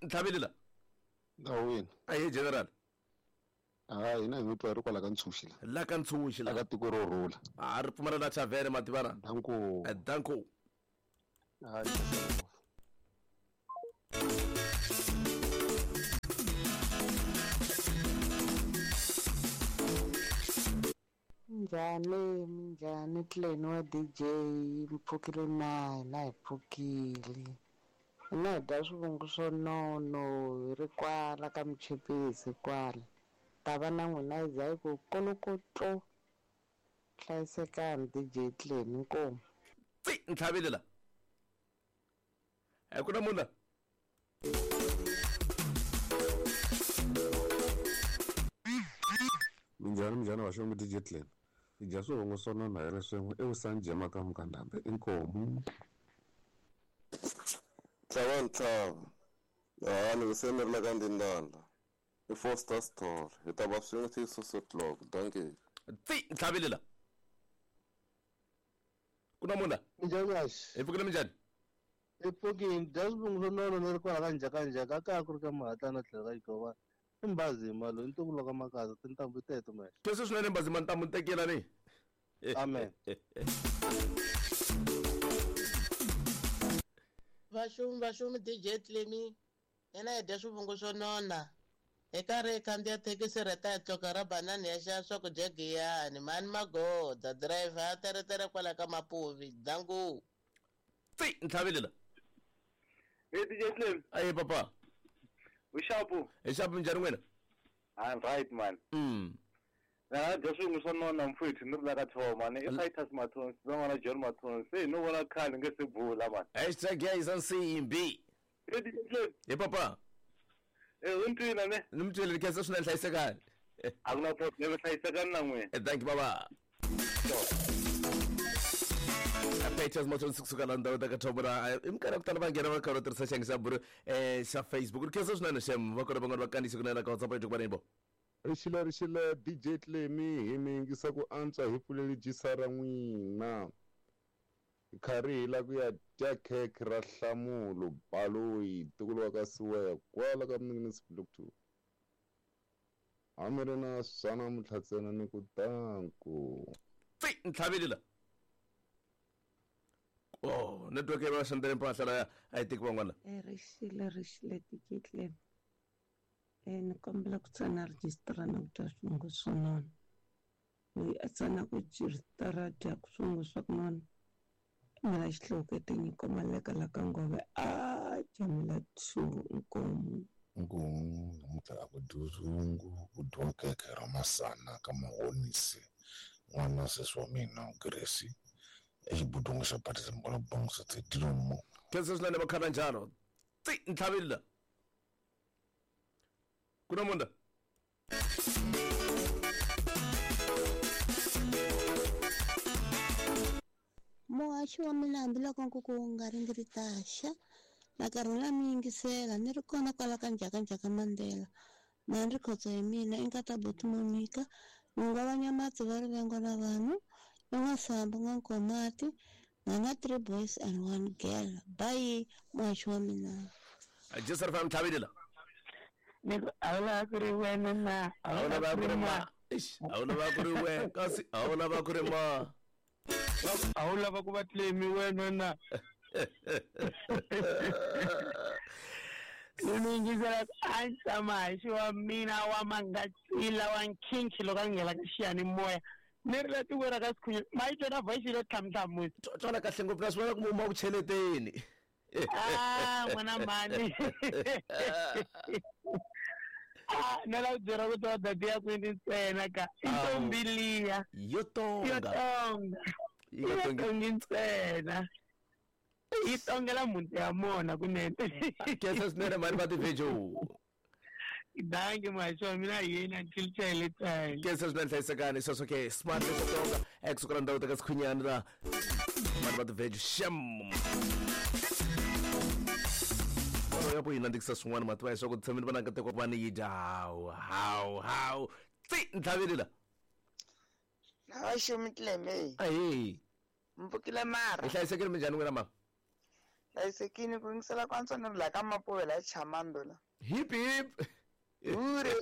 ntlhaveli la. Ndhawini. Ahe general. Hayi hina hi mi twa hi ri kwala ka Ntshuxi la. La ka Ntshuxi la. La ka tiko ro rhula. A ri pfumala na thavene mativana. Danko. Danko. Hayi. Minjhani minjhani Clan wa DJ mi pfukile na hina hi pfukile hina hi dya swivungu swo nono hi ri kwala ka Muchipisi kwala ta va na n'wina yi za yi ku kolokotlo hlayisekani DJ Clan inkomu. Tsi ntlhaveli la. A ku na munhu la. Minjhani minjhani vaxongi DJ Clan. Hi dya swivungu swo nona hi ri swin'we eVusanjema ka Mukandambe inkomu. Ntlhava ntlhava. Hani se ni ri la ka Ndindanda. I Foster Store. Hi ta va swin'we till 6 o'clock. Dankie. Tsi ntlhaveli la. Ku na munhu la. Minjhani Haxi. Hi pfukile minjhani? Hi pfukile dya swivungu swo nona ni ri kwala ka Njhakanjhaka kaya ku ri ka Mahatlana tlhelo ka Xighovana. I Mbazima loyi ntukulu wa ka Makaza tintambu teto mexe. Sweswo swinene Mbazima ntambu tekela ni. Amen. Vaxumi vaxumi DJ Clemi hina hi dya swivungu swo nona hi karhi hi khandziya thekisi rheta hi tluka ra banani ya xava swakudya giyani mhani magoda driver a teretere kwala ka mapuvi dangu. Tsi ntlhaveli la. Hey DJ Clem. Aye papa. Ushapu. Ushapu minjhani n'wina? I'm right man. Na dya swivungu swo nona mfowethu ni ri la ka Thoma ni i Titus Mathonsi va n'wana John Mathonsi se no vona khale nge se bula man. Hashtag ya isa nsimbi. Hey DJ Clem. Hey papa. Eh u ntwile ne? Ni mi twile khensa swinene hlayisekani. A ku na problem hlayisekani na n'wina. Thank you baba. Peters Mathonsi kusuka la ndhawu ta ka Thoma la i minkarhi ya ku tala va nghena va karhi va tirhisa xiyenge xa buru xa Facebook ri khensa swinene xem va kona van'wana va kandziyisa kunene ka WhatsApp ya ku va ni bo. Rixile rixile DJ Clemi hi mi yingisa ku antswa hi pfuleli dyisa ra n'wina. Hi karhi hi la ku ya dya khekhe ra Nhlamulo Baloyi ntukulu wa ka Siweya kwala ka Mninginisi Block 2. A mi ri na swa namuntlha ntsena ni ku danku. Tsi ntlhaveli la. Oh, network ya va xandleni mpahla la a yi teki van'wana. Rixile rixile DJ Clemi. Ni kombela ku tsana rejistara na ku dya swivungu swo nona. Loyi a tsanaka rejistara dya swivungu swa ku nona. Mina xihluke tinyiko maleka la ka ngove a jamela 2 nkomu. Nkomu namuntlha a ku dyiwi swivungu ku dyiwa khekhe ra masana ka mahonisi n'wana sesi wa mina Grace exibudungu xa Patizimbola Bongse Dilomo. Khensa swinene vakhala njalo. Tsi ntlhaveli la. Ku na munhu la. Muhaxi wa mina hambiloko nkuku wu nga ri ndzi ri taxa na karhi na mi yingisela ni ri kona kwala ka Njhakanjhaka Mandela na ni ri khotso hi mina i nkata buti Monica n'winga va Nyamatsi va rivengo na vanhu i N'wasambu N'wankomati na na 3 boys and 1 girl bye muhaxi wa mina. Jesi ri ntlhaveli la. Ni ku a wu lava ku ri wena na A wu lava ku ri ma. Eish, a wu lava ku ri wena kasi a wu lava ku ri ma. A wu lava ku va Clemi wena na. Ni mi yingisela a ntsa muhaxi wa mina wa mangatsila wa nkhinkhi loko a nghena ka xiyanimoya ni ri la tikweni ra ka Sikhunyana ma yi twa na voice yo tlhamtlhamusa. Twala kahle ngopfu na swi vona ku mu huma ku cheleteni. Ah n'wana mhani. Ah na la ku byela ku twa data ya kwini ntsena ka i ntombi liya. Yo tonga. Yo tonga. Yi nga Yi tongi. tongi ntsena. Yi tongela mhunti ya mona kunene. Khensa swinene mhani va tivejo. Dankie muhaxi wa mina hi yena until chele time. Khensa swinene hlayisekani sweswo ke smart leswo tonga ekusuka la ndhawu ta ka Sikhunyana la mhani va tivejo xem. Ya ku yi nandzikisa swin'wana mativa ya swa ku tshamile va na nkateko wa ku va ni yi dya hawu hawu hawu tsi ntlhaveli la. Haxi Clemi. Ahee. Mpfukile mara. Hi hlayisekile minjhani n'wina mama? Hlayisekile ku yingisela ku antswa ni ri laha ka Mapuve laha Chamando la. Hip hip. Hure.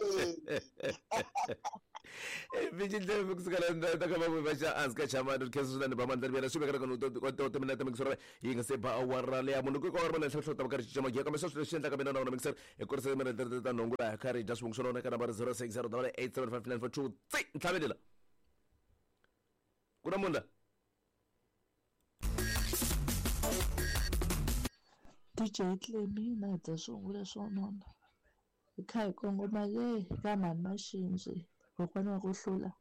Vijindle kusuka la ta ka Mapuve xa hansi ka Chamando khensa swinene ba mandla rivela swi vekela ka to timinete mixer yi nga se ba awara leya munhu ku ka ri hlohlo ta karhi cinca magiya kambe sweswi leswi endlaka mina na wona mixer hi kurisa timinete ta nhungu laha karhi dya swivungu swa lona ka nambara 060 875 tsi ntlhavelela ku na munhu la DJ Clemi na dya swivungu leswo nona hi kha hi kongoma le ka mhani Maxindzi kokwana wa ku hlula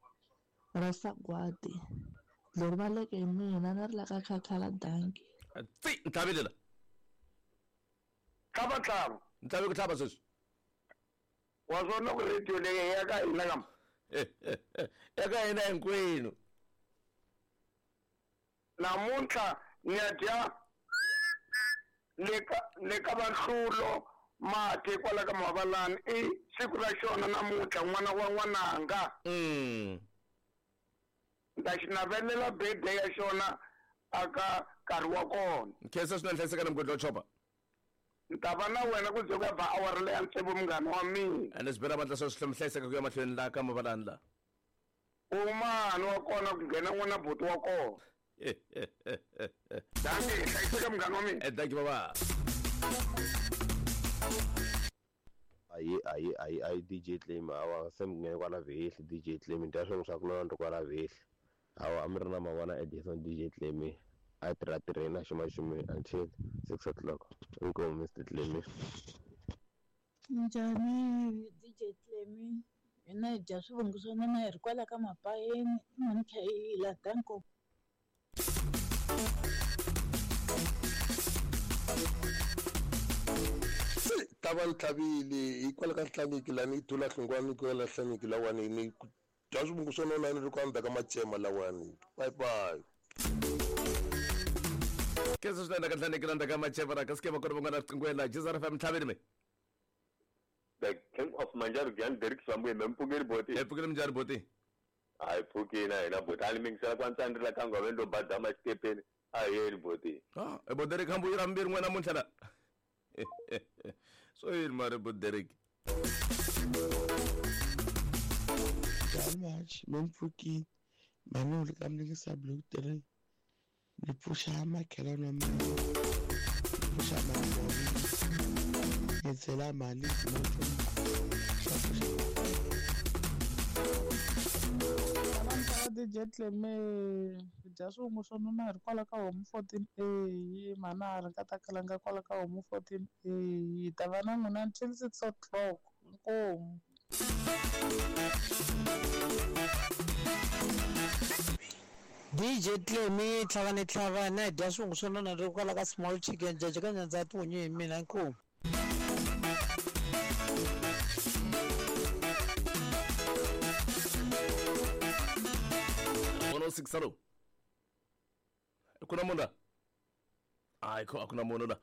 ra sagwadi lori va leke hi mina na ri la ka khakhala danki tsi ntlhavelela tlhava tlhava ntlhave ku tlhava sweswi wa swona ku radio leyi ya ka hina kama ya ka hina hinkwenu namuntlha ni ya dya le ka vanhlulo mati kwala ka Mavalani i siku ra xona namuntlha n'wana wa n'wananga nda xi navelela birthday ya xona aka nkarhi wa kona khensa swinene hlayiseka na mugodi wa chopa ni ta va na wena ku ze ku ya ba awara leya tsevu munghana wa mina ene swi bela vandla swa swi hlayiseka ku ya mahlweni la ka Mavalani la umani wa kona ku nghena n'wana buti wa kona danki hlayiseka munghana wa mina danki baba ayi ayi ayi ayi DJ Clem awa se mi nghene kwala vehli DJ Clem dya swin'we swa ku nona ni kwala vehli awa a mi ri na mavona Edison DJ Clem a tirha tirheni a xumaxumi until 6 o'clock inkomu Mr Clem. Njhani DJ Clem hina hi dya swivungu swo nona hi ri kwala ka Mapayeni i kha hi la danko. Tava ntlhavile hikwalaho ka nhlaniki lani i thula hlungwani ku yela nhlaniki lawani ni dya swivungu swo nona ni ri ku andzaka macema lawani bye bye. Khensa swinene ka nhlaniki la ndzaka macema ra ka sike va kona van'wana riqingweni la Jizara FM ntlhaveni me The King of Manjaro Jan Derek Samwe mempfukeli boti mpfukeli minjhani boti a hi pfukini a hina boti a ni mingisela ku antswa ni ri la ka ngove ndo badama xikepeni a hi yeni boti ah bo Derek hambu yi ra mbirhi n'wina namuntlha la swo yini mari bo Derek Much mempfukini manoli ka mlingisa blue 3 ni pfuxa makhelwani wa mina ni pfuxa mali ni byela mali DJ Clem dya swivungu swo nona hi ri kwala ka homu 14A mhana a ri nga ta kalanga kwala ka homu 14A hi ta va na n'wina until 6 o'clock inkomu. DJ Clem tlhavane tlhavane dya swivungu swo nona ri kwala ka small chicken jaja ka nyandza tihunyi hi mina inkomu. Six kuna munhu la hayi a ku na munhu la.